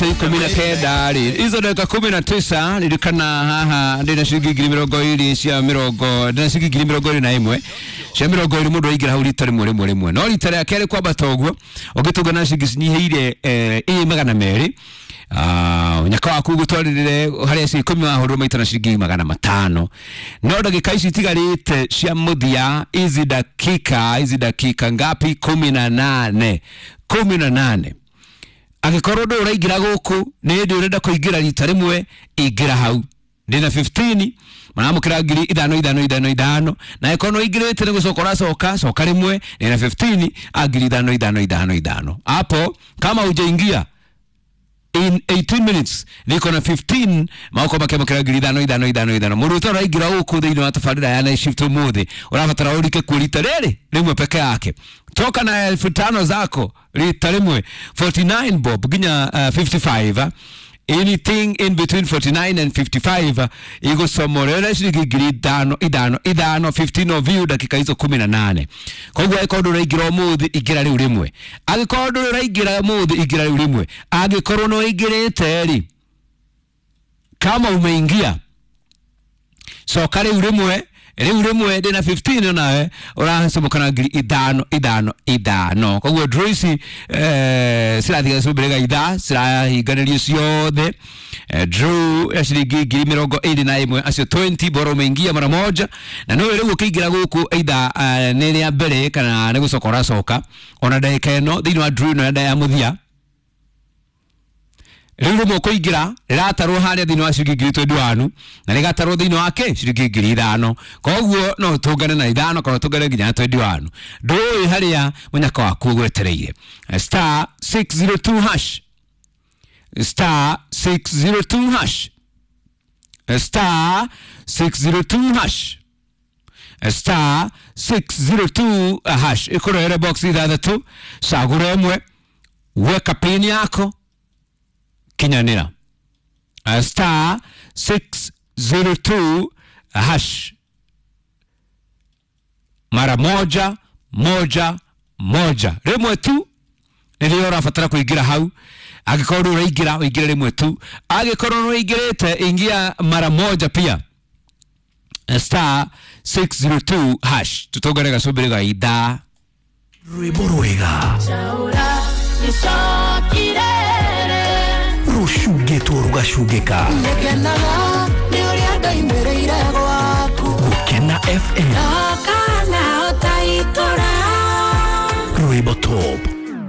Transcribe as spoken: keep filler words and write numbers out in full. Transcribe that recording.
Ikumi na kenda rĩ, izo ndagĩka kumi na tisa. Ririkana haha ndĩna ciringi ngiri mĩrongo ĩrĩ cia mĩrongo, ndĩna ciringi ngiri mĩrongo ĩrĩ na ĩmwe cia mĩrongo ĩrĩ. Mũndũ aingĩra hau rita rĩmwe rĩmwe rĩmwe, no rita rĩa kerĩ kwambata ũguo ũngĩtũngana ciringi cinyihĩire eh, ĩ magana merĩ. Ah, nyaka waku gũtwarĩrĩre harĩa ci ikũmi wahũrwo maita na ciringi magana matano. No ndagĩka ici itigarĩte cia mũthia, hizi dakika hizi dakika ngapi? Kumi na nane, kumi na nane. Angĩkorwo ndũ ũraingĩra gũkũ nĩ hĩndĩ ũrenda kũingĩra rita rĩmwe, ingĩra hau, ndĩna fifteen maramũkĩra ngiri ithano ithano ithano ithano. Na angĩkorwo nĩ ũingĩrĩte nĩ gũcoka ũracoka, coka rĩmwe, ndĩna fifteen a ngiri ithano ithano ithano ithano. Hapo kama hujaingia in eighteen minutes niko na fifteen mako makĩamũkĩra ngiri ithano ithano ithano ithano. Mũndũ ũtarĩ ũraingĩra gũkũ thĩinĩ wa tabarĩra ya night shift ũmũthĩ, ũrabatara ũrike kuo rita rĩrĩ rĩmwe peke yake. Toka na elfu tano zako rita rĩmwe, forty-nine bob nginya uh, fifty-five. Anything in between forty-nine and fifty-five igũcomorera ciringi ngiri ithano ithano ithano, fifteen of you, dakika hizo kumi na nane. Koguo angĩkorwo ndũrĩ ũraingĩra ũmũthĩ, ingĩra rĩu rĩmwe. Angĩkorwo ndũrĩ ũraingĩra ũmũthĩ, ingĩra rĩu rĩmwe. Angĩkorwo nĩ ũingĩrĩte rĩ, kama umeingia, coka rĩu rĩmwe, rĩu rĩmwe, ndĩna fifteen nawe ũracomoka na ngiri ithano ithano ithano. Koguo draw ici eh, cirathiga cumbĩrĩga ithaa cirahinganĩrio ciothe. eh, draw ya ciringi ngiri mĩrongo ĩrĩ na ĩmwe, acio twenty bora umeingia mara moja. Na nĩwe rĩu ũkĩingĩra gũkũ either uh, nĩ rĩa mbere kana nĩ gũcoka ũracoka, ona ndagĩka ĩno thĩinĩ wa draw ĩno ya mũthia rĩu rĩmwe ũkũingĩra rĩratarwo harĩa thĩinĩ wa ciringi ngiri twenty-one na rĩgatarwo thĩinĩ wa kĩ ciringi ngiri ithano. Koguo no ũtũngane na ithano kana ũtũngane nginya na twenty-one. Ndũĩ harĩa mũnyaka waku ũgwetereire. Star six zero two hash, star six zero two hash, star six zero two hash, star six zero two hash. Ĩkũrehere box ithathatũ, cagũra ĩmwe, weka pin yako, kinyanĩra. Uh, star six zero two hash mara moja moja moja, rĩmwe tu nĩrĩo ũrabatara kũingĩra hau. Angĩkorwo ndũrĩ ũraingĩra, ũingĩre rĩmwe tu. Angĩkorwo nĩ ũingĩrĩte, ingia mara moja pia, star six zero two hash. Tutongane gacũmbĩrĩ ga ithaa. Rwĩmbo rwega rũcungĩtwo rũgacungĩka. Ngenaga nĩ ũrĩa ndoimĩrĩire gwaku. Gũkena F M. Ndokana ũtaitũra. Rwĩmbo top.